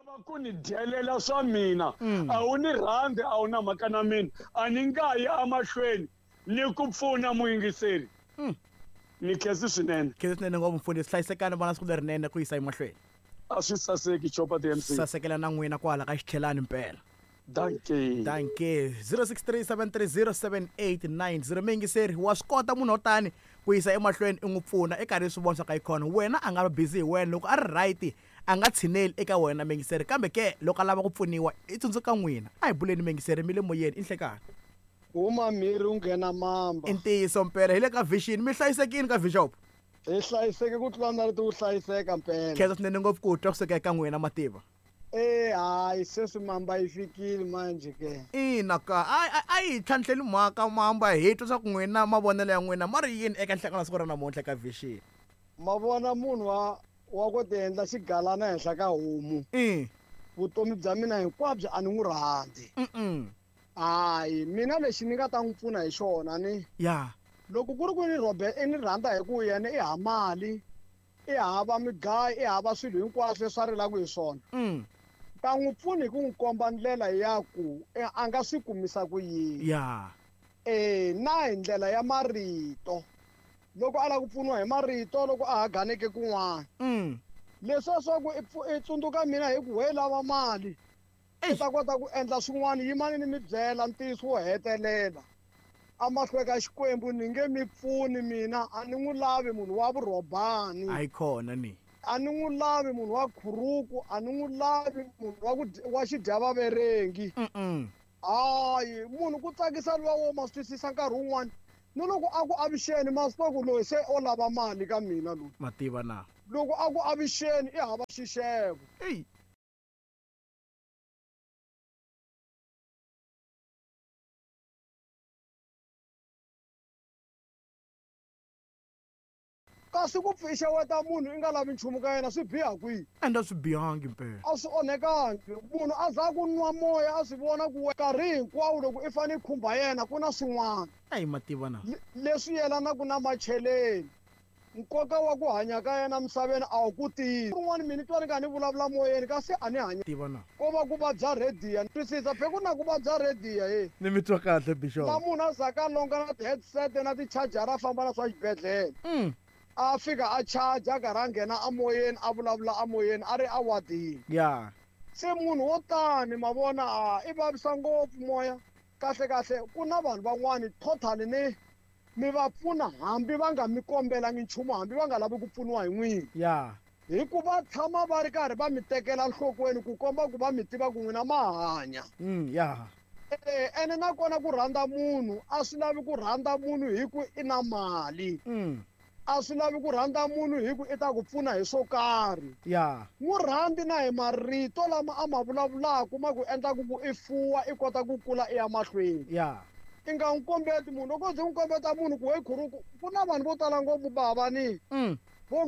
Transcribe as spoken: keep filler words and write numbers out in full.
Lava ku ni dyelela swa mina, Mm. a wu ni rhandzi, a wu na mhaka na mina, a ni nga yi emahlweni ni ku pfuna muyingiseri. Mm. Ni khensi swinene. Khensi swinene ngopfu mfundhisi, hlayisekani vana siku lerinene ku yisa emahlweni. A swi saseki Chopa the M C. Sasekela na n'wina kwala ka xitlhelani mpela. Dankie. Dankie. zero six three seven three zero seven eight nine zero. Muyingiseri, wa swi kota munhu wo tani ku yisa emahlweni i n'wi pfuna i karhi swi vona swa ka yi khona. Wena a nga va busy hi wena, loko a ri right a nga tshineli eka wena muyingiseri, kambe ke loko a lava ku pfuniwa i tsundzuka n'wina. A hi buleni muyingiseri, mi le moyeni i nhlekani. Huma mhiri u nghena mamba. I ntiyiso mpela, hi le ka Vision, mi hlayisekile ka Bishop? Hi hlayiseke ku tlula na leti ku hlayiseka mpela. Khensa swinene ngopfu ku twa kusuka eka n'wina mativa. Eh, hayi sweswi mamba yi fikile manje ke. Ina ka, a, a, a yi tlhantlheli mhaka mamba, hi twa swa ku n'wina mavonelo ya n'wina ma ri yini eka nhlekani siku ra namuntlha ka Vision. Ma vona munhu wa, wa ku ti endla xigalana henhla ka homu. Mm. Vutomi bya mina hinkwabyo a ni n'wi rhandzi. Mm-mm. Hayi, mina lexi ni nga ta n'wi pfuna hi xona ni. Ya. Loko ku ri ku ni Robert i ni rhandza hi ku yena i ha mali, i hava migayo, i hava swilo hinkwaswo leswi a rilaka hi swona. Mm. Ta n'wi pfuna hi ku n'wi komba ndlela ya ku a nga swi kumisa ku yini. Ya. Eh, na hi ndlela ya marito. Loko a lava ku pfuniwa hi marito loko a ha ganeke kun'wana. Mm. Leswiya swa ku i pfu-, i tsundzuka mina hi ku we lava mali. Eish. I ta kota ku endla swin'wana, yimani ni mi byela ntiyiso wo hetelela. Amahlweni ka Xikwembu ni nge mi pfuni mina, a ni n'wi lavi munhu wa vurhobani. A yi kona ni. A ni n'wi lavi munhu wa khuruku, a ni n'wi lavi munhu wa ku dya, wa xidyavaverengi. Mm-mm. Hayi, munhu ku tsakisa luwa wo ma swi twisisa nkarhi wun'wani. Ni loko a ku avuxeni, ma swi tiva ku loyi se o lava mali ka mina loyi. Mativa na. Loko a ku avuxeni, i hava xixevo. Ey. Kasi ku pfuxeweta munhu i nga lavi nchumu ka yena swi biha kwihi? Ende swi bihangi mpela. A swi onhekangi. Munhu a za ku nwa moya a swi vona ku nkarhi hinkwawo loko i fanele i khumba yena ku na swin'wana. Eyi mativa na. Le-, leswi yelanaka na macheleni. Nkoka wa ku hanya ka yena misaveni a wu ku tivi. Rin'wana mina ni twa ni karhi ni vulavula moyeni kasi a ni hanya. Tiva na. Ko va ku vabya rhediya. Ni twisisa phe ku na ku vabya rhediya he. Ni mi twa kahle Bishop. Na munhu a zaka a longa na ti-headset na ti-charger a famba na swa xibedhlele. Mm. A fika a charge a karhi a nghena amoyeni a vulavula amoyeni a ri a wadini. Ya. Se munhu wo tani ma vona a i vavisa ngopfu moya. Kahle kahle ku na vanhu van'wani totally ni mi va pfuna hambi va nga mi kombelangi nchumu, hambi va nga lavi ku pfuniwa hi n'wina. Ya. Hikuva tshama va ri karhi va mi tekela nhlokweni ku komba ku va mi tiva ku n'wina ma hanya. Mm, ya. Eh, ene nakona ku rhandza munhu a swi lavi ku rhandza munhu hi ku i na mali. Mm. A swi lavi ku rhandza munhu hi ku i ta ku pfuna hi swo karhi. Ya. N'wi rhandzi na hi marito lama a ma vulavulaka ma ku endlaku ku i fuwa i kota ku kula i ya mahlweni. Ya. I nga n'wi kombeti munhu, loko u ze u n'wi kombeta munhu ku we khuruku, ku na vanhu vo tala ngopfu bava ni. Mm. Vo